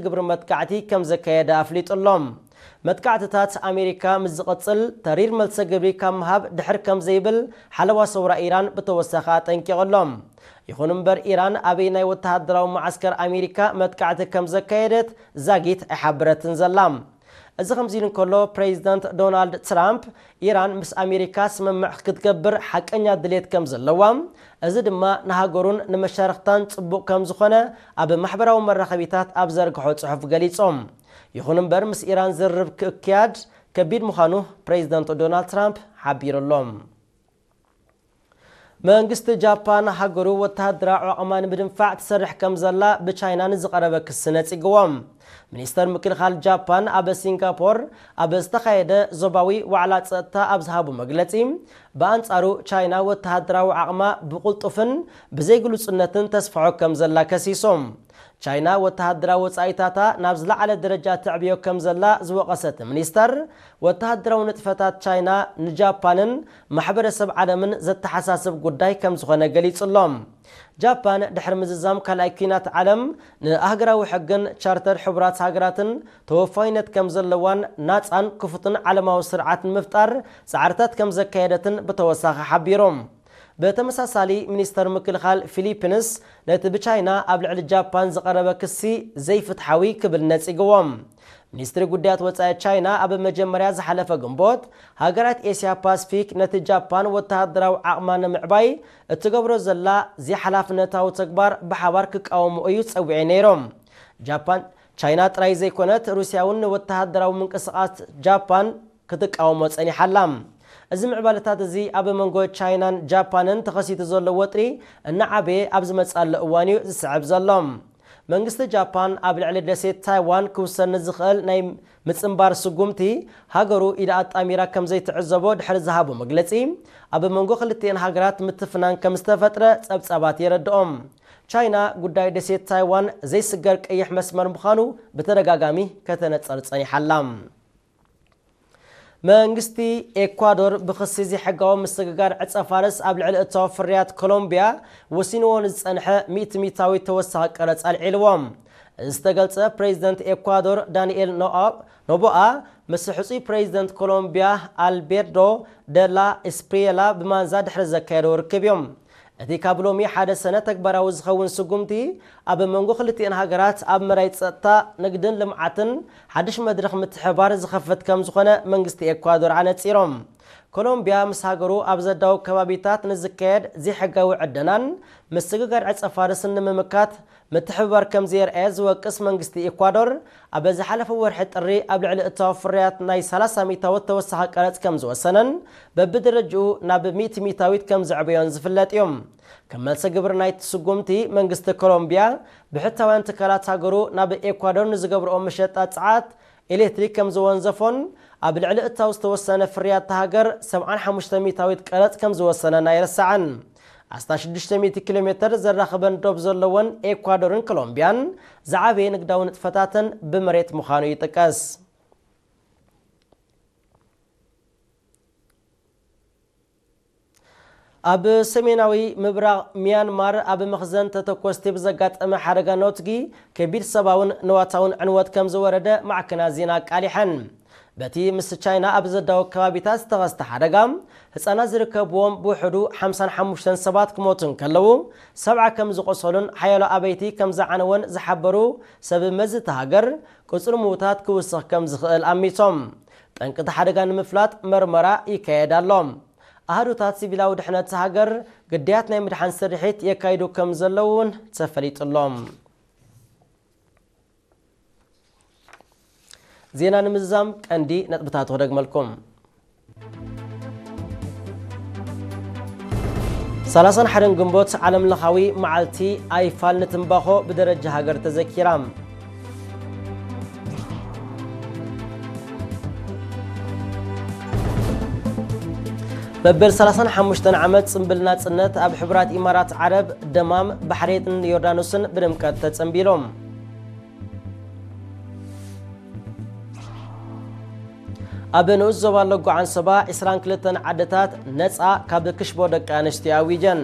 ግብሪ መጥቃዕቲ ከም ዘካየደ ኣፍሊጡ ኣሎ። መጥቃዕትታት ኣሜሪካ ምስ ዝቕጽል፣ ተሪር መልሰ ግብሪ ካብ ምሃብ ድሕር ከም ዘይብል ሓለዋ ሰውራ ኢራን ብተወሳኺ ኣጠንቂቑ ኣሎ። ይኹን እምበር፣ ኢራን ኣበይ ናይ ወተሃደራዊ መዓስከር ኣሜሪካ መጥቃዕቲ ከም ዘካየደት ዛጊት ኣይሓበረትን ዘላ። እዚ ከምዚ ኢሉ እንከሎ፣ ፕሬዚደንት ዶናልድ ትራምፕ፣ ኢራን ምስ ኣሜሪካ ስምምዕ ክትገብር ሓቀኛ ድሌት ከም ዘለዋ፣ እዚ ድማ ንሃገሩን ንመሻርኽታን ጽቡቕ ከም ዝኾነ ኣብ ማሕበራዊ መራኸቢታት ኣብ ዘርግሖ ጽሑፍ ገሊጾም። ይኹን እምበር፣ ምስ ኢራን ዝርርብ ክእክያድ ከቢድ ምዃኑ ፕሬዚደንት ዶናልድ ትራምፕ ሓቢሩ ኣሎ። መንግስቲ ጃፓን ሃገሩ ወተሃደራዊ ዓቕማ ንምድንፋዕ ትሰርሕ ከም ዘላ ብቻይና ንዝቐረበ ክሲ ነጺግዎ። ሚኒስተር ምክልኻል ጃፓን ኣብ ሲንጋፖር ኣብ ዝተኻየደ ዞባዊ ዋዕላ ጸጥታ ኣብ ዝሃቡ መግለጺ፣ ብኣንጻሩ ቻይና ወተሃደራዊ ዓቕማ ብቕልጡፍን ብዘይግሉጽነትን ተስፍሖ ከም ዘላ ከሲሶም። ቻይና ወተሃደራዊ ወጻኢታታ ናብ ዝለዓለ ደረጃ ተዕብዮ ከም ዘላ ዝወቐሰ እቲ ሚኒስተር፣ ወተሃደራዊ ንጥፈታት ቻይና ንጃፓንን ማሕበረሰብ ዓለምን ዘተሓሳስብ ጉዳይ ከም ዝኾነ ገሊጹ ኣሎ። ጃፓን ድሕሪ ምዝዛም ካልኣይ ኲናት ዓለም ንኣህጉራዊ ሕግን ቻርተር ሕቡራት ሃገራትን ተወፋይነት ከም ዘለዋን ናጻን ክፉትን ዓለማዊ ስርዓት ንምፍጣር ጻዕርታት ከም ዘካየደትን ብተወሳኺ ሓቢሮም። ብተመሳሳሊ፣ ሚኒስተር ምክልኻል ፊሊፒንስ ነቲ ብቻይና ኣብ ልዕሊ ጃፓን ዝቐረበ ክሲ ዘይፍትሓዊ ክብል ነጺግዎ። ሚኒስትሪ ጉዳያት ወጻኢ ቻይና ኣብ መጀመርያ ዝሓለፈ ግንቦት፣ ሃገራት ኤስያ ፓስፊክ ነቲ ጃፓን ወተሃደራዊ ዓቕማ ንምዕባይ እትገብሮ ዘላ ዘይሓላፍነታዊ ተግባር ብሓባር ክቃወምኦ እዩ ጸዊዐ ነይሮም። ጃፓን፣ ቻይና ጥራይ ዘይኮነት፣ ሩስያ እውን ንወተሃደራዊ ምንቅስቓስ ጃፓን ክትቃወሞ ጸኒሓ ኣላ። እዚ ምዕባለታት እዚ ኣብ መንጎ ቻይናን ጃፓንን ተኸሲቱ ዘሎ ወጥሪ እናዓበየ ኣብ ዝመጽኣሉ እዋን እዩ ዝስዕብ ዘሎ። መንግስቲ ጃፓን ኣብ ልዕሊ ደሴት ታይዋን ክውሰድ ንዝኽእል ናይ ምጽንባር ስጉምቲ ሃገሩ ኢዳ ኣጣሚራ ከም ዘይትዕዘቦ ድሕሪ ዝሃቦ መግለጺ፣ ኣብ መንጎ ክልቲኤን ሃገራት ምትፍናን ከም ዝተፈጥረ ጸብጻባት የረድኦም። ቻይና ጉዳይ ደሴት ታይዋን ዘይስገር ቀይሕ መስመር ምዃኑ ብተደጋጋሚ ከተነጸር ጸኒሓ ኣላ። መንግስቲ ኤኳዶር ብኽሲ ዘይሕጋዊ ምስግጋር ዕጸ ፋርስ ኣብ ልዕሊ እታወ ፍርያት ኮሎምቢያ ወሲንዎ ንዝጸንሐ ሚእቲ ሚእታዊት ተወሳኺ ቀረጽ ኣልዒልዎ። እዚ ዝተገልጸ ፕሬዚደንት ኤኳዶር ዳንኤል ኖአ-፣ ኖቦኣ ምስ ሕጹይ ፕሬዚደንት ኮሎምቢያ ኣልቤርዶ ደላ ኤስፕሪየላ ብማንዛ ድሕሪ ዘካየደዎ ርክብ እዮም። እቲ ካብ ሎሚ ሓደ ሰነ ተግባራዊ ዝኸውን ስጉምቲ፣ ኣብ መንጎ ክልቲኤን ሃገራት ኣብ መዳይ ጸጥታ፣ ንግድን ልምዓትን ሓድሽ መድረኽ ምትሕብባር ዝኸፍት ከም ዝኾነ መንግስቲ ኤኳዶር ኣነጺሮም። ኮሎምቢያ ምስ ሃገሩ ኣብ ዘዳው ከባቢታት ንዝካየድ ዘይሕጋዊ ዕደናን ምስግጋር ዕጸ ፋርስን ንምምካት ምትሕብባር ከም ዘየርኣየ ዝወቅስ መንግስቲ ኤኳዶር፣ ኣብ ዝሓለፈ ወርሒ ጥሪ ኣብ ልዕሊ እታወ ፍርያት ናይ ሰላሳ ሚእታዊት ተወሳኺ ቀረጽ ከም ዝወሰነን በብደረጅኡ ናብ ሚእቲ ሚእታዊት ከም ዘዕበዮን ዝፍለጥ እዩ። ከም መልሰ ግብሪ ናይቲ ስጉምቲ፣ መንግስቲ ኮሎምቢያ ብሕታውያን ትካላት ሃገሩ ናብ ኤኳዶር ንዝገብርኦ መሸጣ ጸዓት ኤሌክትሪክ ከም ዝወንዘፎን ኣብ ልዕሊ እታው ዝተወሰነ ፍርያት እታ ሃገር ሰብዓን ሓሙሽተ ሚእታዊት ቀረጽ ከም ዝወሰነን ኣይረሳዕን። ኣስታት ሽዱሽተ ሚእቲ ኪሎ ሜተር ዘራኽበን ዶብ ዘለወን ኤኳዶርን ኮሎምቢያን ዝዓበየ ንግዳዊ ንጥፈታተን ብመሬት ምዃኑ ይጥቀስ። ኣብ ሰሜናዊ ምብራቕ ሚያንማር ኣብ መኽዘን ተተኮስቲ ብዘጋጠመ ሓደጋ ነውትጊ ከቢድ ሰብኣውን ንዋታውን ዕንወት ከም ዝወረደ ማዕከናት ዜና ኣቃሊሐን። በቲ ምስ ቻይና ኣብ ዘዳወ ከባቢታት ዝተኸስተ ሓደጋ፣ ህጻናት ዝርከብዎም ብውሕዱ ሓምሳን ሓሙሽተን ሰባት ክሞቱ እንከለዉ፣ ሰብዓ ከም ዝቖሰሉን ሓያሎ ኣበይቲ ከም ዝዓነወን ዝሓበሩ ሰብ መዚ እታ ሃገር፣ ቁጽሪ ምዉታት ክውስኽ ከም ዝኽእል ኣሚቶም። ጠንቂ እቲ ሓደጋ ንምፍላጥ መርመራ ይካየድ ኣሎ። ኣሃዱታት ሲቪላዊ ድሕነት እታ ሃገር ግዳያት ናይ ምድሓን ስርሒት የካይዱ ከም ዘለዉ እውን ተፈሊጡ ኣሎ። ዜና ንምዝዛም ቀንዲ ነጥብታቱ ክደግመልኩም። ሰላሳን ሓደን ግንቦት ዓለም ለኻዊ መዓልቲ ኣይፋል ንትምባኾ ብደረጃ ሃገር ተዘኪራ። መበል ሰላሳን ሓሙሽተን ዓመት ጽምብል ናጽነት ኣብ ሕቡራት ኢማራት ዓረብ፣ ደማም፣ ባሕሬንን ዮርዳኖስን ብድምቀት ተጸንቢሎም። ኣብ ንኡስ ዞባ ለጎ ዓንሰባ ዕስራን ክልተን ዓድታት ነጻ ካብ ክሽቦ ደቂ ኣንስትዮ ኣዊጀን።